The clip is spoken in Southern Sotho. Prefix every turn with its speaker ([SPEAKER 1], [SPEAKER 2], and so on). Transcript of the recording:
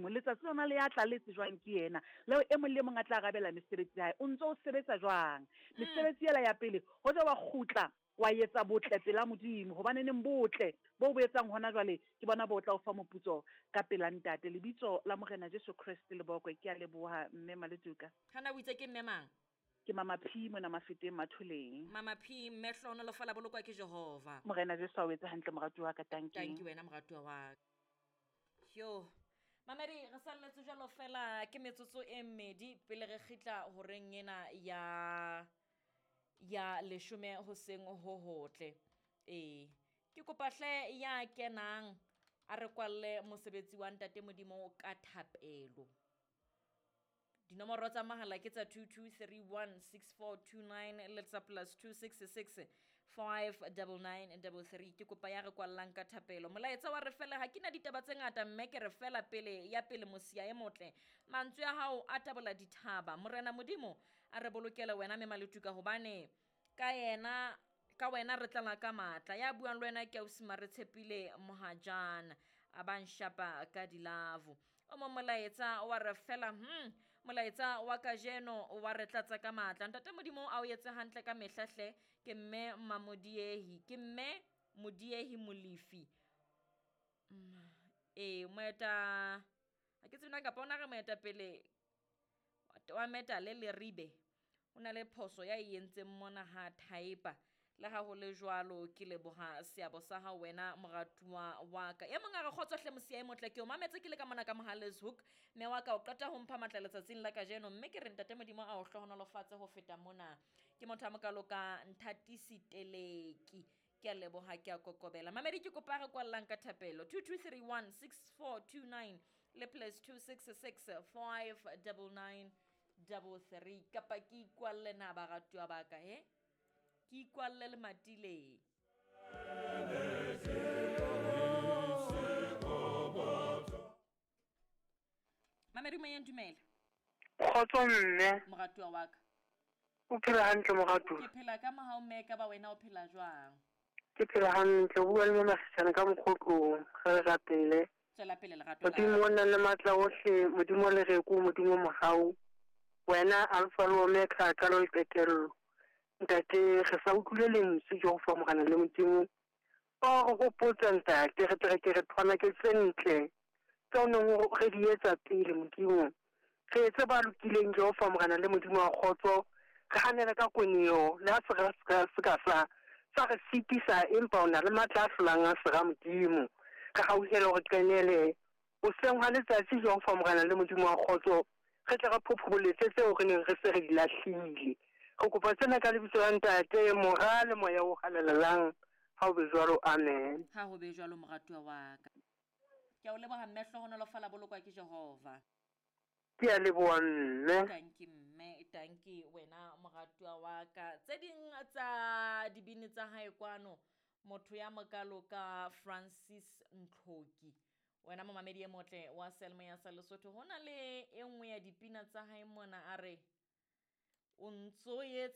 [SPEAKER 1] Modimo. Letsatsi lona le ya tla le tsejwang ke yena, leo e mong le e mong a tla arabela mesebetsi ya hae. O ntso o sebetsa jwang? Mesebetsi ela ya pele, hoja wa kgutla wa etsa botle pela Modimo, hobaneneng botle bo o bo etsang hona jwale ke bona bo tla o fa moputso ka pela Ntate. Lebitso la Morena Jesu Kreste le bokwe. Ke a leboha, Mme Maletuka.
[SPEAKER 2] Hana o itse ke mme mang?
[SPEAKER 1] Ke Mama P mona Mafeteng Matholeng.
[SPEAKER 2] Mama P, mme hlohonolofala bolokwa ke Jehova.
[SPEAKER 1] Morena Jesu a o etse hantle moratuwa wa ka, tanki.
[SPEAKER 2] Tanki wena moratuwa wa ka. Yo. Mamedi re salletse jwalo fela ke metsotso e mmedi pele re kgitla horeng ena ya ya leshome hoseng ho hotle. Ee. Ke kopa hle ya kenang a re kwalle mosebetsi wa Ntate Modimo ka thapelo. Dinomoro tsa mahala ke tsa 22316429 le tsa plus 266 59933. Ke kopa ya re kwallang ka thapelo. Molaetsa wa re fela ha ke na ditaba tse ngata mme ke re fela pele ya pele mosia e motle. Mantswe a hao a tabola dithaba. Morena Modimo a re bolokele wena mme Maletuka hobane ka yena ka wena re tlala ka matla. Ya buang le wena ke ausi Maretshepile Mohajana a ba nshapa ka dilavo. O mong molaetsa wa re fela molaetsa wa kajeno wa re tlatsa ka matla. Ntate Modimo a o etse hantle ka mehla hle. Ke mme Mamodiehi, ke mme Modiehi Molefi. Ee, moeta ha ke tsebe na kapa ona re moetapele wa metale Leribe. O na le phoso ya e entseng mona ha thaepa. Le ha ho le jwalo ke leboha seabo sa hao wena moratuwa wa ka. E mong a re kgotso hle mosia e motle ke o mametse ke le ka mona ka Mohale's Hoek. Mme wa ka o qeta ho mpha matla letsatsing la kajeno mme ke re Ntate Modimo a o hlohonolofatse ho feta mona. Ke motho a mokalo ka Nthatisi Teleki. Ke a leboha ke a kokobela. Mamedi ke kopa re kwallang ka thapelo 22316429 le plus 266 59933 kapa ke ikwalle na baratuwa ba ka he? Ke ikwalle le matileng. Mamedi moyeng dumela.
[SPEAKER 3] Kgotso mme.
[SPEAKER 2] Moratuwa wa ka.
[SPEAKER 3] O phela hantle moratuwa?
[SPEAKER 2] Ke phela ka mohau mme ka ba wena o phela jwang?
[SPEAKER 3] Ke phela hantle, o bua le mme Masechane ka mokgotlong, re le rapele.
[SPEAKER 2] Tswela pele lerato la.
[SPEAKER 3] Modimo o nang le matla ohle, Modimo o lereko, Modimo o mohau. Wena Alpha le Omega, qalo le qetello. Ntate, re sa utlwile lentswe Jehova Morena le Modimo. O re hopotsa ntate, re tle re ke re thwanake tse ntle tseo neng o re di etsa pele Modimo. Re etse ba lokileng Jehova Morena le Modimo wa kgotso, re hanele ka koneo, le ha sera se ka sa sa re sitisa, empa o na le matla a hlolang a sera Modimo. Re hauhele hore qenele hoseng hwa letsatsi Jehova Morena le Modimo wa kgotso, re tle re phophoboletse tseo re neng re se re di lahlile. Re kopa tsena ka lebitso la Ntate, Mora le Moya o Halalelang. Ha ho be jwalo, amen.
[SPEAKER 2] Ha ho be jwalo moratuwa wa ka. Ke a o leboha mme, hlohonolofala bolokwa ke Jehova.
[SPEAKER 3] Ke a leboha mme.
[SPEAKER 2] Tanki mme, tanki wena moratuwa wa ka. Tse ding tsa dibini tsa hae kwano, motho ya mokalo ka Francis Ntlhoki. Wena momamedi e motle wa Selmo ya sa Lesotho, ho na le e nngwe ya dipina tsa hae mona a re o ntso etse